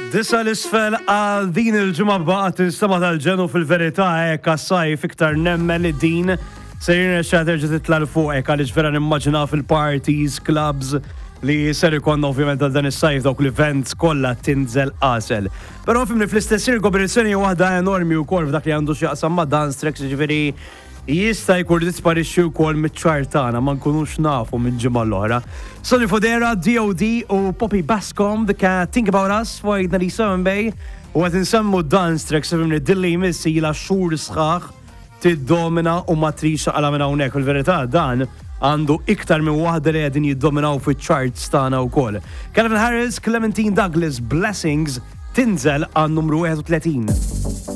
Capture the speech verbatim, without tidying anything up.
Disa l-isfel għal din il-ġimgħa baqgħet tinstema' tal-ġenn u fil-verità hekk għas-sajf iktar nemmen li din se jirnexxa terġa' titla' 'l fuq hekk għaliex vera nimmaġina fil-parties, clubs li ser ikonna ovvjament għal dan is-sajf dawk l-events kollha tinżel għasel. Però fimni fl-istess ħin kompetizzjoni waħda enormi wkoll f'dak li għandu x'jaqsam ma' dance tracks ġifieri jista' jkun li tisparixxi wkoll miċ-chart tagħna ma nkunux nafu minn ġimgħa l-oħra. Sonny Fodera, D.O.D. u Poppy Bascom, The Cat, Think About Us, fuq ninety-seven Bay, u qed insemmu dance tracks fimni dilli jmiss ilha xhur sħaħ tiddomina u ma tridx taqla' minn hawnhekk. Fil-verità dan għandu iktar minn waħda li qegħdin jiddominaw fiċ-charts tagħna wkoll. Calvin Harris, Clementine Douglas, Blessings, tinżel għan numru wieħed u tletin.